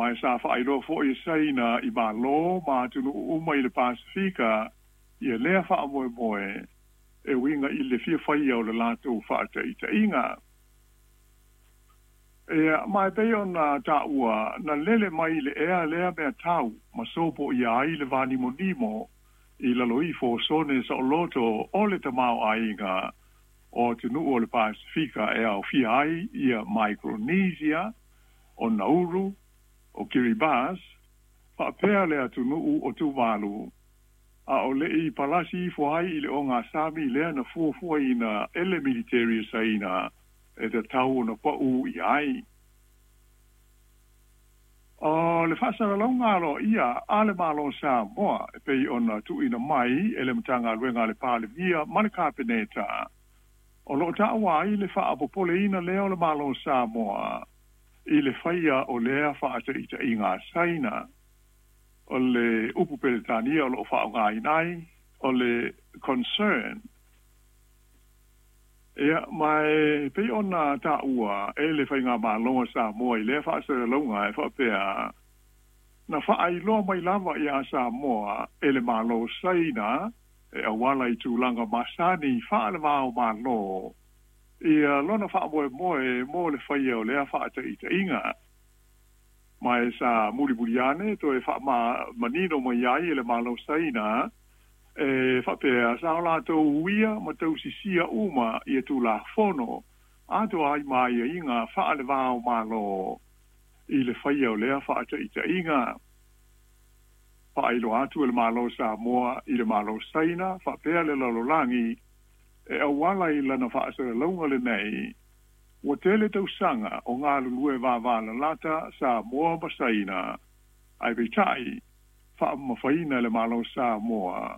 Ma e sa faailoa foi e Saina i Malo ma atunuu uma i le Pasefika ia lea faamoemoe e uiga i le fia faia o le latou faataitaiga. Ia, ma e pei ona taua, na lele mai i le ea lea mea tau ma sopoia ai le vanimonimo i lalo ifo o sone saoloto o le tamaoaiga o atunuu o le Pasefika e aofia ai ia Micronesia, o Nauru, o Kiribati, faapea le atunuu o Tuvalu, a o le i palasi ifo ai i le ogasami lea na fuafuaina e le militeri a Saina e tatau ona pau i ai. O le faasalalauga aloaia a le Malo o Samoa e pei ona tuuina mai e le Matagaluega a le Palemia ma le Kapeneta, o lo o taua ai le faapopoleina lea o le Malo o Samoa i le faia o lea faataitaiga a Saina. O le upu Peretania o lo o faaaogaina ai, o le concern. Ia, ma e pei ona taua e le Faigamalo a Samoa i lea faasalalauga e faapea, na faailoa mai lava ia Samoa e le Malo o Saina e auala i tulaga masani faale-va-o-Malo ia lona faamoemoe mo le faia o lea faataitaiga. Ma e sa mulimuli ane toe faamanino mai ai e le Malo o Saina e faapea sa o latou uia ma tausisia uma ia Tulafono atoa ai ma aiaiga faale-va-o-Malo i le faia o lea faataitaiga. Faailoa atu e le Malo o Samoa i le Malo o Saina faapea le lalolagi e auala i lana faasalalauga lenei, ua tele tausaga o galulue vavalalata Samoa ma Saina, ae peitai, faamamafaina e le Malo o Samoa,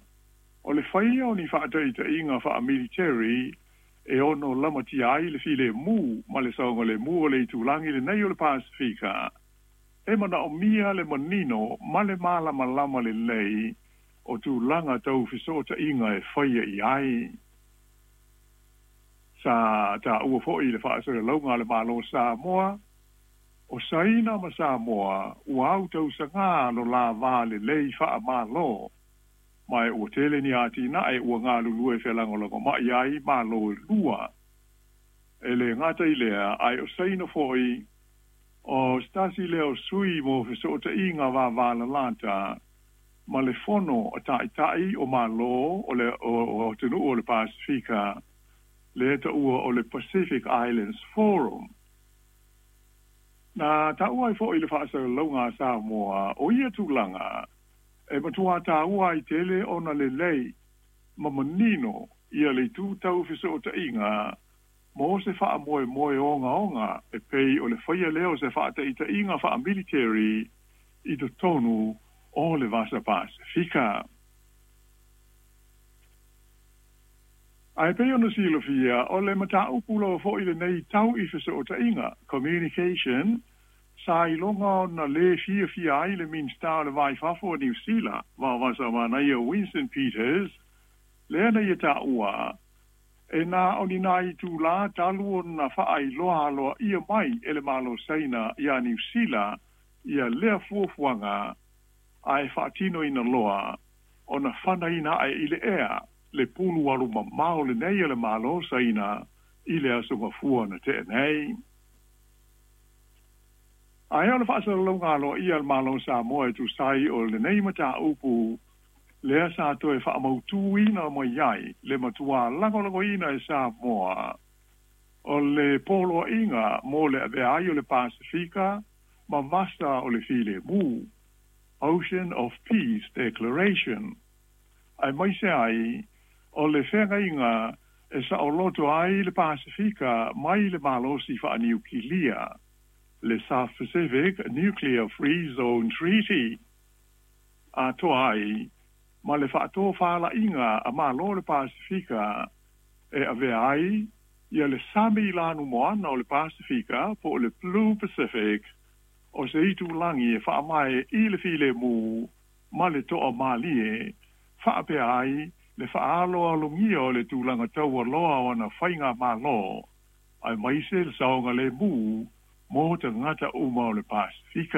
o le faia o ni faataitaiga faamiliteri e ono lamatia ai le filemu ma le saogalemu o le itulagi lenei o le Pasefika, e manaomia le manino ma le malamalama lelei o tulaga tau fesootaiga e faia i ai. Sa taua foi i le faasalalauga a le Malo o Samoa, o Saina ma Samoa ua autausagā lo la va lelei faamalo, ma ua tele ni atinae ua galulue felagolagomai ai Malo e lua. E le gata i lea, ae o Saina foi o se tasi lea o sui mo fesootaiga vavalalata ma le Fono a Taitai o Malo o le o atunuu o le Pasefika, lea taua o le Pacific Islands Forum. Na taua ai foi i le faasalalauga a Samoa o ia tulaga e matua taua ai tele ona lelei ma manino ia le itu tau fesootaiga mo se faamoemoe ogaoga e pei o le faia lea o se faataitaiga faamiliteri i totonu o le Vasa Pasefika. Ae pei ona silafia, o le mataupu lava foi lenei tau i fesootaiga, communication, sa iloga ona lē fiafia ai le Minisita o le Va i Fafo a Niu Sila, Vaovasamanaia Winston Peters, lea na ia taua, e na o ni nai itulā talu ona faailoa aloaia mai e le Malo o Saina iā Niu Sila ia lea fuafuaga, ae faatinoina loa ona fanaina ae i le ea le pulu alu mamao lenei a le Malo o Saina i le Aso Gafua na tea nei. Ae o le faasalalauga aloaia a le Malo o Samoa e tusa ai o lenei mataupu lea sa toe faamautuina mai ai le matua lagolagoina e Samoa o le poloaiga mo le avea ai o le Pasefika ma Vasa o le Filemu, Ocean of Peace Declaration, aemaise ai o le feagaiga e saoloto ai le Pasefika mai le malosi faaniukilia, le South Pacific Nuclear Free Zone Treaty, atoa ai ma le faatofalaiga a Malo o le Pasefika e avea ai ia le sami lanumoana o le Pasefika po o le Blue Pacific o se itulagi e faavae i le filemu ma le toamalie, faapea ai le faaaloalogia o le tulaga taualoa o ana faigamalo, aemaise le saogalemu mo tagata uma o le Pasefika.